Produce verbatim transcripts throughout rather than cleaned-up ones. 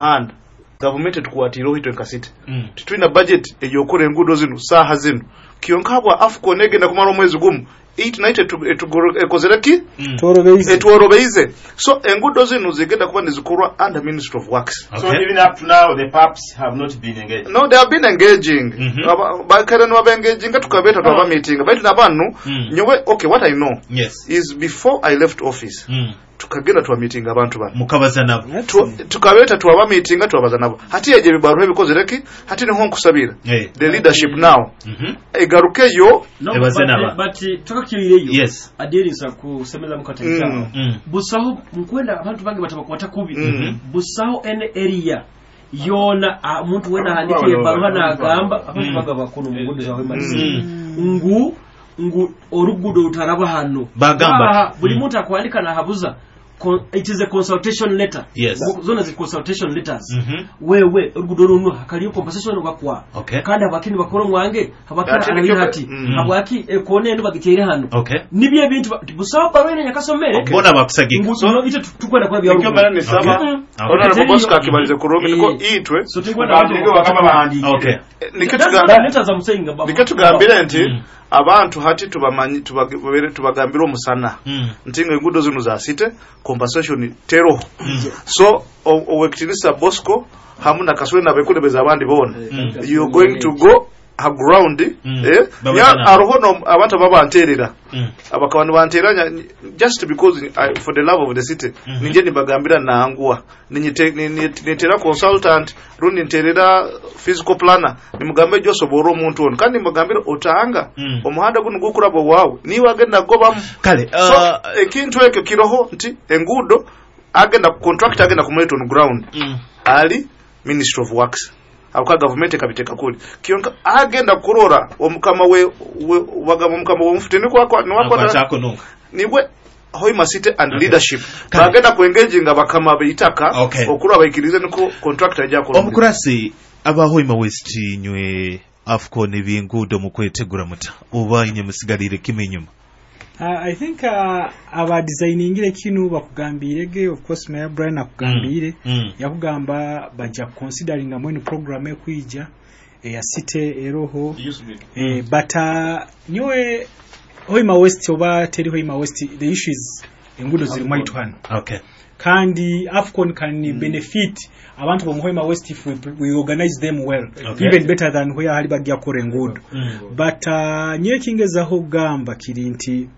Muhanda gavumenti etukwatiireho itwe nka city, Mm. titwina budget eyokora enguudo zinu saaha zinu. Kyonka habwa AFCON egenda kumara omwezi gumu, eight night ekozere ki? Mm. Tworobeize. Etworobeize. So enguudo zinu zigenda kuba nizikorwa under Ministry of Works. Okay. So even up to now, the PAPs have not been engaged. No, they have been engaging. Mhm. Aba- bakere nibabengaginga, tukabeeta, twaba meeting, baitu nabanu Mm. nyowe, okay, what I know Yes. is before I left office, Mm. tukagenda twa meeting abantu bano. Mukabaza nabo. Tu- tukabeeta twaba meetinga, twabaza nabo. Hati egyo ebibaruha ebikozere ki, hati niho nkusabira Eh. the leadership now Mhm. egarukeyo. No, Ebaze but, naba. But tukakirireyo. Yes. Aderisa kusemeza mukataita. Mm. Mm. Busaho nkwenda abantu bange batabakwata kubi. Mm. Busaho ene area yona ah, omuntu wena Abantu ahandikiye babo ebaruha abantu n'agamba abantu Mm. baga bakono mu ngudo zawe Mm. ngu ngu orugudo rutaraba hano. Bagamba. Aha, buli Mm. muntu akwandika nahabuza. Con- it is a consultation letter. Yes. Ngo- zona zi consultation letters. Mhm. Wewe orugudo runo hakaliyo compensation bakwa Okay. kandi habwaki nibakora omwange, habwaki Ate arabira nikyo- hati, Mm. habwaki ekona eno bagiteire hano. Okay. Nibyo ebintu ba- busaho barwene nyakasomere. Bona bakusagika. Ngu no ite tukwenda kwa Nikyo bya mara nisaba Okay. Honorable Okay. Bosco akibalize kurungi, niko Eh. itwe So tukwenda Baandike bakaba bahandiikire. Okay. nikyo That's tugamba what the letters I'm saying about. nikyo tugambire nti Mm. abantu hati tubamanyi tubage- tubagambire omusana Mm. nti nga enguudo zino za city, compensation teroho. So o- owekitinisa Bosco hamu na Kasule nabekulebeza abandi bona, you're going to go ha ground. Mm. Eh, Babaza nya- nabo. Aroho no abantu ababanterera, Mm. abakaba nibanteranya just because I, for the love of the city. Mhm. Ninje nibagambira nangwa Ninyite- ni- ni- nitera consultant rundi nterera physical planner, nimugambe josobora omuntu ono, kandi nimugambire otanga Mm. omuhanda guno gukuraba waawe niwe agenda gobamu. Kale So uh, ekintu ekyo kiroho nti enguudo agenda contract agenda kumuleta on ground mm. ali Ministry of Works, abuka gavumenti ekabiteeka kuli kyonka agenda kurora omukama we, we bagamba omukama w'omufuti nikwakwa niwakwata Nakwatako nunga. Niwe Hoima City and Okay. leadership Kale. bagenda kuengaginga bakama beitaka Okay. okuraba baikirize niko contractor ajja kurondera. Omukurasi aba Hoima West, nywe AFCON ebyenguudo mukwetegura muta, oba inye musigalire kimwe inyuma? Uh, I think uh, abadesigningire kinu bakugambirege, of course Mayor Brian akugambire. Mm. Yakugamba bajja considering mwenu program ekwija eya city eroho, eh, but uh, nyowe Hoima West oba teri Hoima West, the issue is enguudo ziri mwaitu hano. Okay. Kandi AFCON can benefit abantu bo mu Hoima West if we, we organize them well, Okay. even better than where hali bajja kukora enguudo. Mm. But uh, nyewe kingezaho kugamba kiri nti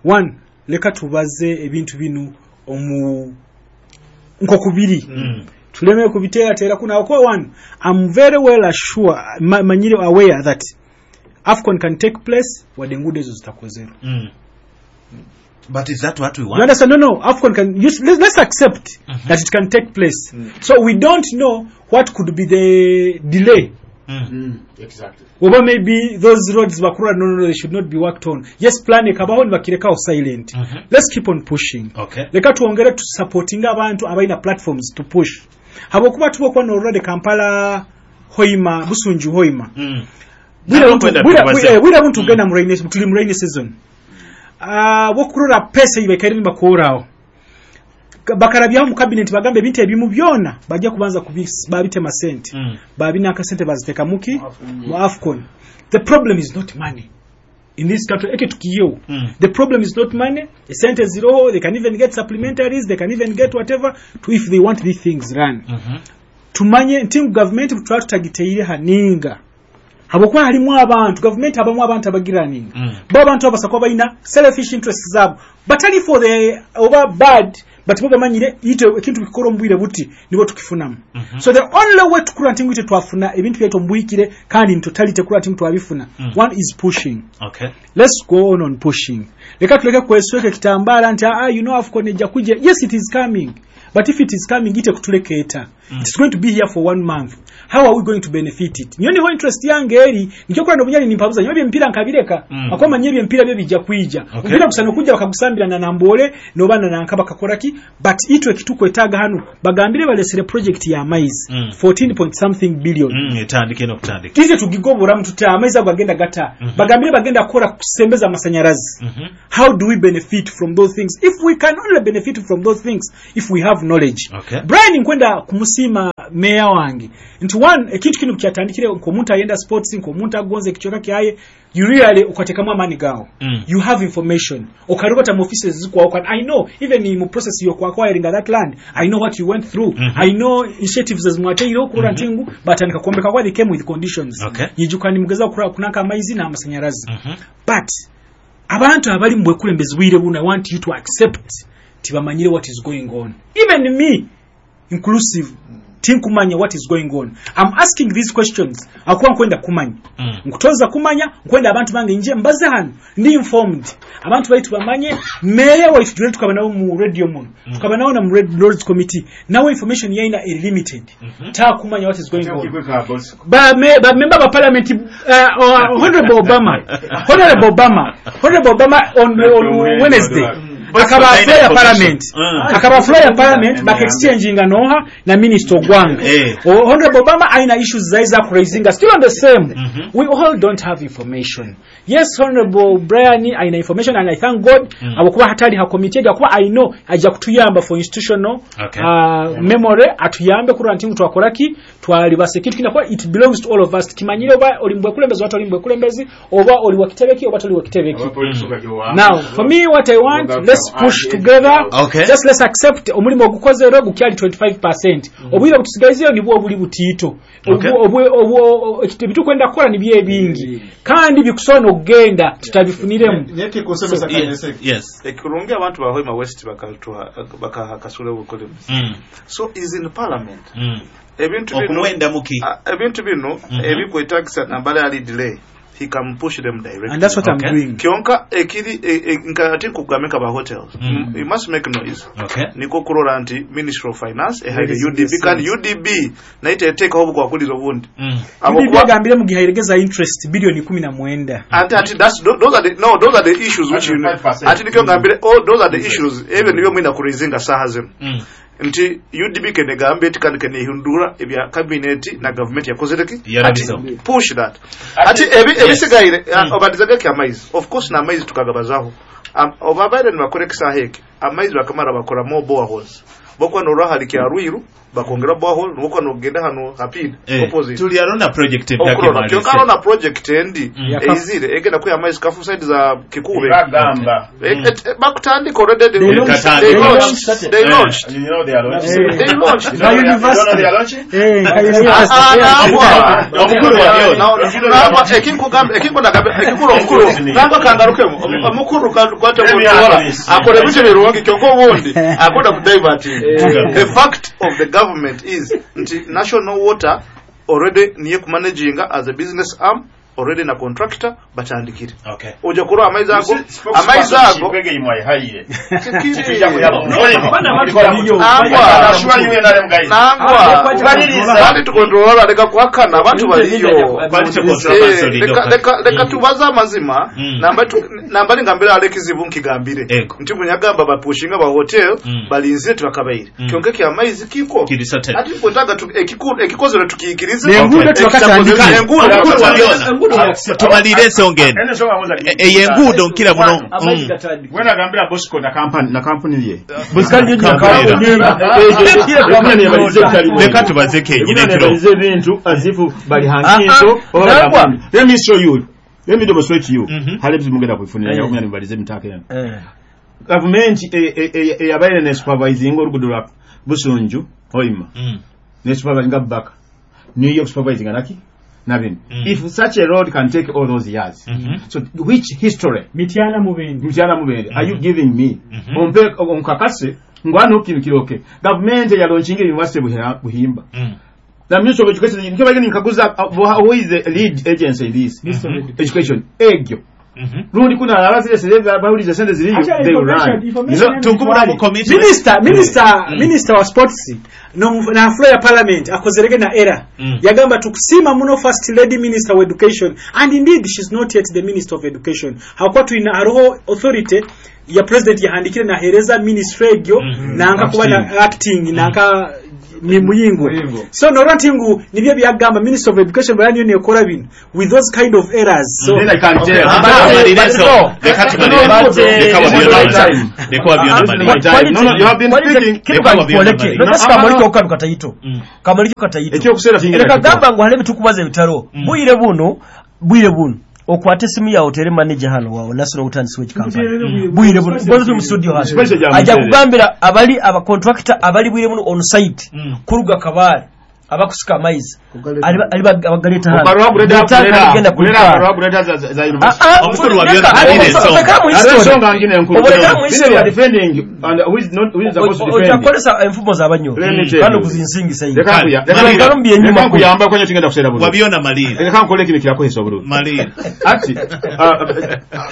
one, leka tubaze ebintu bino omu nkokubiri, Mm. tuleme kubiteerateera kuno akuba one, I'm very well assured, ma, manyire aware that AFCON can take place wadde enguudo ezo zitakozerwa. Mm. But is that what we You want? understand? No, no. AFCON can. You, let's, let's accept Mhm. that it can take place. So we don't know what could be the delay. Mm. Exactly. Oba maybe those roads bakura, no, no, no, they should not be worked on. Yes, plan ekabaho nibakirekaho silent. Mhm. Let's keep on pushing. Okay. Leka twongere tusupportinga abantu abalina platforms to push. Habwokuba tuba okuba n'olulwadde Kampala Hoima, Busunju Hoima. Mm. Bwire Nabo buntu- kwenda bwire- tubaze. bwire- bwire buntu tugenda mu rainy, tuli mu rainy season. Ah, bwokurora pesa ibaikaire nibakoraho. Bakarabyaho mu cabinet bagamba ebintu ebimu byona bajja kubanza kubis- babitema sente. Mm. Babina akasente baziteka muki mu AFCON. The problem is not money in this country, eke tukiyewo. Mm. The problem is not money. Sente ziroho, they can even get supplementaries, they can even get whatever to if they want these things run. Mhm. Tumanye nti ngu gavumenti tutwala tutagiteire haninga habwokuba halimu abantu gavumenti abamu abantu abagiraninga. Mm. Bo abantu abo basakuba balina selfish interests zaabo batali for the oba bad, but bo bamanyire ite ekintu bikora omu bwire buti nibo tukifunamu. Mhm. So the only way tukura nti ngu ite twafuna ebintu byaitu omubwikire kandi in totality kura nti ngu twabifuna, Mm. one is pushing. Okay. Let's go on on pushing. Leka tuleke kwesweka ekitambala nti ah, you know AFCON ejja kujja. Yes, it is coming, but if it is coming, ite kutulekeeta mm. It's going to be here for one month. How are we going to benefit it? Niyo niho interest yange eri nikyo kura nobunyali nimpabuza nyowe ebyempira nkabireka. Mm. Akoma nye ebyempira byo bijja kwija. Okay. Omupiira gusana kujja bakagusambira na nambole nobana nanka bakakora ki, but itwe ekitukwetaaga hano bagambire balesere project ya maize, Mm. fourteen point something billion. Mm. Etandike n'okutandika. Tize tugigobora tuta amaizi ago agenda gata. Mhm. Bagambire bagenda kukora kusembeza amasanyarazi. Mhm. How do we benefit from those things? If we can only benefit from those things if we have have knowledge. Okay. Brian, nkwenda kumusiima meya wange nti one, ekintu kino kyatandikire nk'omuntu ayenda sports, nk'omuntu agonza ekicweka kyaye, you really ukatekamu amaani gawo. Mm. You have information, okarogota mu offices zikwawo. I know even mu process yokwacquiring that land, I know what you went through. Mhm. I know initiatives ezimwateireho okurora nti ngu batandika kwombeka kwa they came with conditions. Okay. Yijuka nimugeza kurora kunaka amaizi n'amasanyarazi. Mhm. But abantu abali mu bwekulembezi bwire buno, I want you to accept tibamanyire what is going on. Even me inclusive, tinkumanya what is going on. I'm asking these questions akuba nkwenda kumanya. Mm. Nkutoza kumanya, nkwenda abantu bange nje mbaze hano ndi informed, abantu baitu bamanye. Meya waitu jule tukaba nabo mu radio muno, tukaba nabo na mu red lords committee, nawe information yaina eri limited. Mhm. Takumanya what is going on. Okigwe ka Bosco. Ba me, ba member ba parliament, uh, uh, honorable Obama, honorable Obama, honorable Obama on, on Wednesday akaba floor ya parliament. Mm. Akaba floor ya parliament, baka exchanginga noha na minister Ogwanga. Eh. O- honorable Obama aina issues zaiza kuraisinga still on the same. Mhm. We all don't have information. Yes, honorable Brian aina information and I thank God Mm. abokuba hatali ha committee, akuba I know ajja kutuyamba for institutional Okay. uh, memory, atuyambe kurora nti twakoraki twalibasa ekintu kina kuba it belongs to all of us. Kimanyire oba oli mbwekulembezi oba toli mbwekulembezi, oba oli wakitebeki oba toli wakitebeki. Now for me, what I want, let's push together. Okay. Just let's accept omulimu ogukozerwe gukyali twenty-five percent. Obwire butusigaizeyo nibwo obuli butiito. Okay. Obu- obu- obu- ebitukwenda kukola nibyo ebingi kandi bikusobola okugenda tutabifuniremu. Nyekikusomesa. Yes. Yes. Ekirungi abantu ba Hoima West bakatuha bakaha Kasule obukulembezi. Mm. So is in parliament. Mm. Ebintu bino Okumwenda muki. Ah, ebintu bino Mhm. ebikwetagisa nambala ali delay, he can push them directly. And that's what Okay. I'm doing. Kyonka ekiri e- e- nka ati nkugambe nka ba hotels, Mm. you must make noise. Okay. Niko kurora nti Ministry of Finance ehaire Release U D B the kandi cents. U D B nayo teteekaho obukwakulizo obundi. Mm. Abo U D B kuba- agambire mu gihe ayiregeza interest biliyoni kumi na mwenda. Ati ati that's those are the no those are the issues which you know. five percent. Ati nikyo ngambire, all those are the issues ebyo nibyo mwina kuraisinga saha zino Mm. nti U D B kenegambe eti kandi kenehindura ebya cabinet na government yakozere ki ati Yarabizo. push that ati ebi ebisigaire. Mm. Obadizageki amaizi, of course, n'amaizi tukagabazaho. Am- oba baire nibakora ekisaha eki amaizi bakamara bakora more boreholes, bokuba norwa hari kya Rwiru bakongera borehole, nokuba nogenda hano hapini Eh, opposite. Tuli arona project Okurora kyonka arona project endi Mm. eizire egenda kuya amaizi kafu side za Kikube. Bagamba. Eh, eh, bakutandika already. They, They launched. they They launched, they Eh. launched. You know they are launching. Eh. They launched. You know Nka they are- you don't know they university. are launching? Eh, nka Ah, university. nangwa. Omukulu wa byona. Na- nangwa ekinkugamba ekinkunagambe ekikulu omukulu nangwa kangarukemu omukulu kwate Let me kutola ask this. akora ebintu birungi kyonka obundi akonda kudiverting. The fact of the government is nti National Water already niye kumanaginga as a business arm already na contractor batandikire. Okay. Ojja kurora amaizi ago amaizi ago Kikwege imwayihaire. Kikiri. I assure you N R M guys. Nangwa. Kubaliriza. Kandi tukontrola leka kuhakana abantu baliyo. Kwali Eh, controversy. leka- leka- leka tubaze amazima. Mm. Namba tu- namba ningambire ale ekizibu nkigambire Ego. nti munyagamba bapushinga ba hotel Mm. balinzire tibakabaire. Mm. Kyonka ekyamaizi kiko Kiri certain. ati kwetaga tu- ekiku- ekikozere tukiyikirize. N'enguudo tibakatandika. Enguudo Omukulu wa tibakatandika. byona. Tumalire ensonga eno. Eno ensonga nkoza E- eyo enguudo nkira muno. Amaizi Mm. gatandika. Gwe nagambira Bosco na kampani na kampuni ye. Leka tubaze kenyini ekiro. Ebintu as if bali hankinso oba bali Nangwa. Let me show you. Let me demonstrate to you. Mhm. Hali ebizibu mugenda kubifunira yakumya nibalize emitaka eno. Gavumenti eyabaire ne supervising oluguudo lwa Busunju Hoima Mm. ne supervising Baka New York supervising naki nabino. Mm. If such a road can take all those years, Mhm. so which history Mityana Mubende. Mukyala Mubende are you giving me? Mhm. Ompe onkakase ngwano kinkiroke gavumenti yalaunchinga university Buhira- buhimba Mm. The Ministry of Education nkebageni nkaguza uh, who is the lead agency in this Ministry of Education. Education egyo Mhm. rundi kuna abazire bawulize sente ziriyo, Actually, they will information- run. information You know, Tukubula mu committee. Minister, minister, Mm. minister wa sports no na floor ya parliament akozerege na era. Mm. Yagamba tukusima muno first lady minister of education, and indeed she's not yet the minister of education, hakuwa tuina hariho authority ya president yahandikire nahereza ministry egyo. Mhm. Nanka kuba na acting nanka Ni Muyingo. So norora nti ngu nibyo byagamba Minister of Education bali niyo nekora bino with those kind of errors. So Then I can tell. Leka tumalire. Leka wabyona. Leka wabyona malire. No, no, you have been speaking. Kamali ko kataito. Kamali ko kataito. Ekyokuseera kingenda. Leka gamba ngu hale bitukubaza ebitaro. Bwire buno, bwire buno. Okwate simu yawe otere manager hano wawe National Water and Sewage Company. Bwire buno bozo mu studio hano. Ajja kugambira abali aba contractor abali bwire buno on site kuruga Kabale abakusika amaizi ali ali abagaleta hano. Omukuru wa byona malire so. Ensonga ngine enkulu. Defending and who is not who is supposed to defend. Ojakozesa enfumo z'abanyo. Kano kuzinsingisa iyi. Leka kuyamba kwenye kigenda kuseera bulungi. Wabyona malire. Leka nkole kino kirakozesa obulungi. Malire. Ati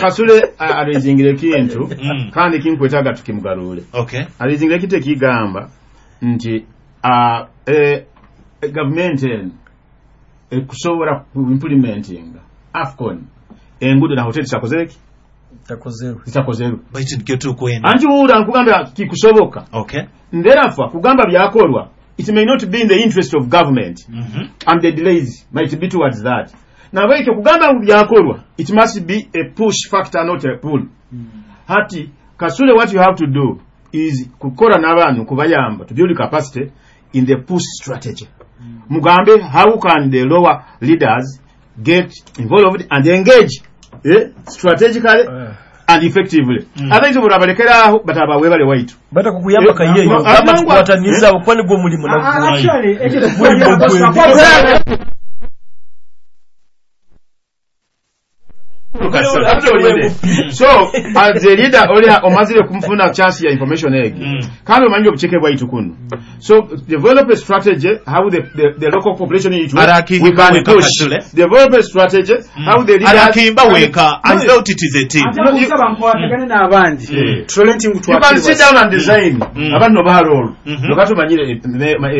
Kasule alizingire kintu kandi kinkwetaaga tukimugarule. Okay. Alizingire kintu ekigamba nti eh government eno ekusobola ku implementing AFCON enguudo na hoteli zitakozereki zitakozerwe zitakozerwe baitu nikyo tukwenda anti wuula nkugambira kikusoboka. Okay. Therefore kugamba byakolwa it may not be in the interest of government mm -hmm. and the delays might be towards that. Nabwekyo kugamba ngu byakolwa it must be a push factor not a pull. Mm. Hati Kasule what you have to do is kukola n'abantu kubayamba to build capacity in the push strategy. Mm. Mugambe how can the lower leaders get involved and engage eh, strategically uh. and effectively. Mm. Abenzi burabalekera bataba webale waitu. Bata kukuyamba kayeyo gamba tukwataniza okwani gwo mulimu na actually ekyo So as a leader olya omazire kumfuna chance ya information egi mm. kandi omanyire obucheke bwaitu kuno. So develop a strategy how the the, the local population in it we can push. Develop a strategy mm. how the leaders arakimba weka. I felt it is a team. Nkwatagane n'abandi tulole nti you can sit down and design abantu no baharol lokatumanyire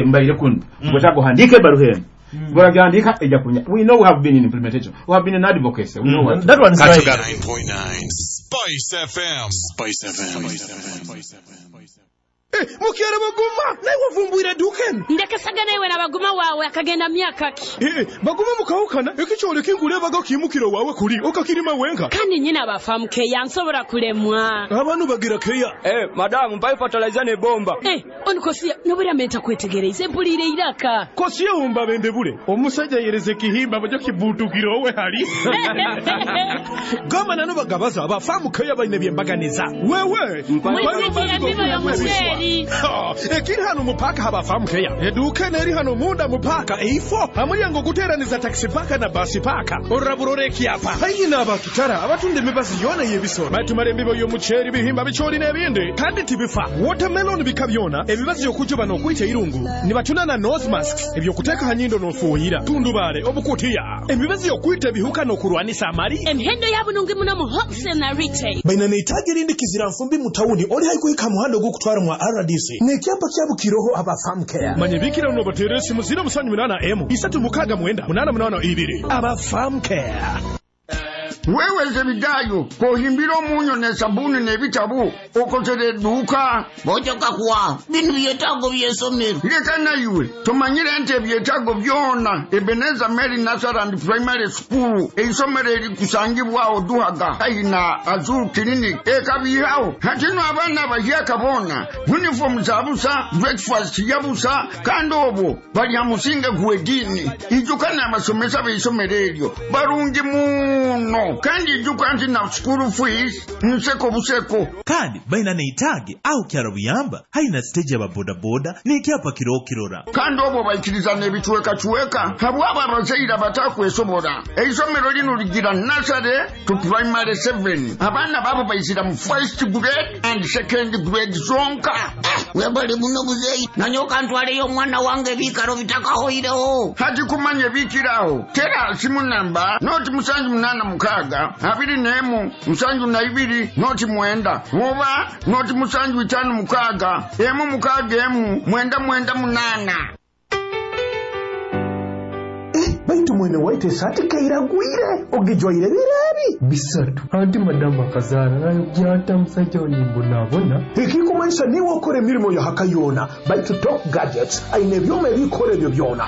mbaire kuno bwetago handike baruhemu. We know we have been in implementation. We have been in advocacy. We know what. That one's right. nine point nine Spice F M. Spice F M. Spice F M. Eh, mukere baguma naye wavumbwira dukeni ndekesagana iwe na baguma wawe akagenda myaka ki eh baguma mukawukana ekikyole kingulebaga kimukiro wawe kuli okakirima wenka kandi nyina bafamu keya nsobora kulemwa abantu bagira keya eh madamu mpa fertilizer ne bomba eh onikosia nobera menta kwetegereza empulire iraka kosiya umba bende bule omusajja yereze kihimba bajo kibutukiro we hali gama nano bagabaza abafamu keya bayine byembaganiza wewe ekiri hano mupaka habafamu keya eduka neri hano munda mupaka eifo amulyango guteraniza taxi paka na basi paka oraburore kyapa hayina abakitara abatunda emibazi yona yebisoro batumara embibo y'omuceeri bihimba bichori n'ebindi kandi tibifa watermelon bika byona ebibazi yokujuba n'okwita irungu nibatuna na nose masks ebyokuteeka hanyindo n'ofuuyira tundubale obukutiya emibazi yokwita ebihuka n'okurwanisa amali emihendo yabunungi muno mu wholesale na retail baina neitaga erindi kizira nfumbi mu tawuni oli haikuhika muhando gw'okutwara mwa R D C nekyapa kyabukiroho abafamu care manyebikira uno batere simu ziro musanyu munana emu isatu mukaga mwenda munana munana ibiri abafamu care. Wewe Zebidayo kohimbira omunyo ne sabuni n'ebitabo okozere edduuka bojoka kuwa bino byetaago by'essomero leka nayiwe tumanyire nti ebyetaago byona Ebenezer Mary Nursery and Primary School eisomero erikusangibwawo Duhaga haina Azul Clinic ekabihawo hatino abaana abahyaka boona uniform zabusa breakfast yabusa kandi obwo balya musinge gw'eddiini ijuka n'abasomesa b'eisomero eryo barungi muno kandi ijuka nti na school fees nseko buseko kandi baina neitage au kyaro buyamba haina stage ya bodaboda nekyapa kirokirora kandi obwo baikiriza n'ebicwekacweka habwabo abazaire abatakwesobola eisomero lino ligira nursery to primary seven abaana babo baizira mu first grade and second grade zonka webale muno muzeeyi nanyoka ntwaleyo omwana wange ebiikaro bitakahoireho hati kumanya ebiikiraho tera simu namba noti musanju munana mukaaga abiri n'emu musanju na ibiri noti mwenda oba noti musanju itaano mukaaga emu mukaaga emu mwenda mwenda munana. Baitu mwene waitu esati keiragwire ogijwaire birebi bisatu anti madamu akazaara nayogyata musajja onimbonabona. Ekikumanyisa niwe okora emirimo ya haka yona, baitu Top Gadgets aine ebyoma ebikora ebyo byona.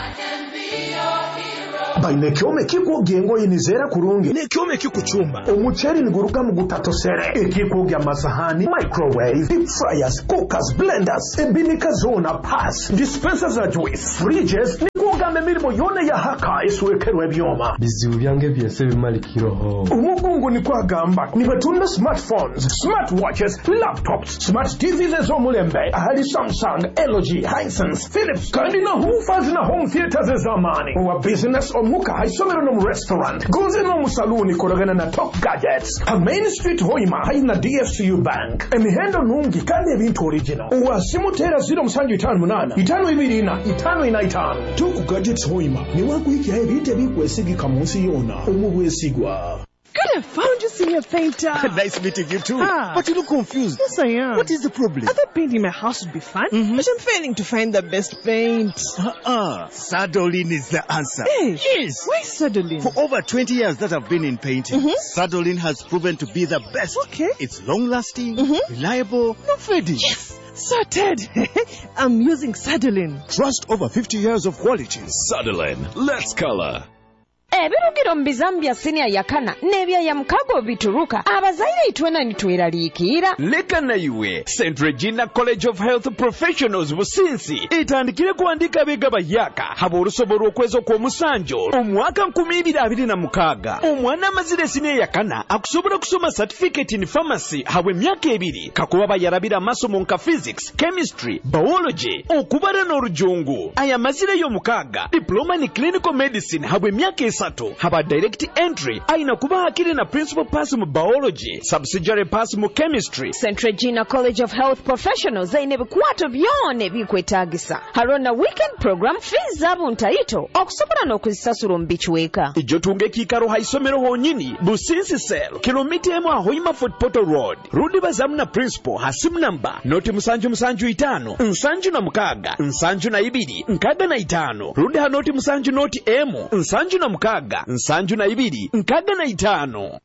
Baine ekyoma ekikwogya engoye nizeera kurungi n'ekyoma ekikucumba omuceeri niguruga mu gutatosere, ekikwogya amasahani, microwave, deep fryers, cookers, blenders, ebinika zona, pass, dispenser za juice, fridges, nikwogamba emirimo yona ya haka eswekerwa ebyoma. Bizibu byange byese bimalikiro. Omugungu nikwagamba nibatunda smartphones, smartwatches, laptops, smart T Vs ez'omulembe ahali Samsung, L G, Hisense, Philips kandi na woofers na home theaters ez'amaani. Owa business omuka haisomero no mu restaurant gonze no mu saluni korogana na Top Gadgets ha Main Street Hoima haina D F C U Bank. Emihendo nungi kandi ebintu original. Owa simu tera zero musanju itano munana itano ibiri ina itano ina itano. Top Gadgets Hoima ni wakuhikya ebintu ebikwesigika mu nsi yona omubwesigwa. Good, I found you, senior painter. Nice meeting you too. Ah. But you look confused. Yes, I am. What is the problem? I thought painting my house would be fun, mm-hmm. but I'm failing to find the best paint. Uh-uh. Sadolin is the answer. Hey. Yes. Why Sadolin? For over twenty years that I've been in painting, mm-hmm. Sadolin has proven to be the best. Okay. It's long-lasting, mm-hmm. reliable, not fading. Yes. Sorted. I'm using Sadolin. Trust over fifty years of quality. Sadolin. Let's color. Ebirugiro mu bizambi bya siniya yakana n'ebya ya mukago bituruka abazaire itwena nitweraliikira. Leka naiwe Saint Regina College of Health Professionals Businsi etandikire kuandika abega bayaka haba olusobola okwezi okw'omusanjo omwaka nkumi ibiri abiri na mukaaga. Omwana amazire siniya yakana akusobola kusoma certificate in pharmacy habwe emyaka ebiri kakuba bayarabira amasomo nka physics, chemistry, biology, okubara n'orujungu. Aya mazire y'omukaaga diploma in clinical medicine habwe emyaka esatu haba direct entry aina kuba hakiri na principal pass mu biology, subsidiary pass mu chemistry. Saint Regina College of Health Professionals aine bikwato byona ebikwetagisa harona weekend program fees zabo ntaito okusobola n'okuzisasula mu bichweka. Ijo tunge kikaro haisomero honyini Businsi Cell kilomita emu ahoima Fort Portal Road rundi bazamu na principal hasimu namba noti musanju musanju itano nsanju na mukaga nsanju na ibiri nkaga na itano rundi ha noti musanju noti emu nsanju na mukaga nsanju na ibiri nkaga na itano.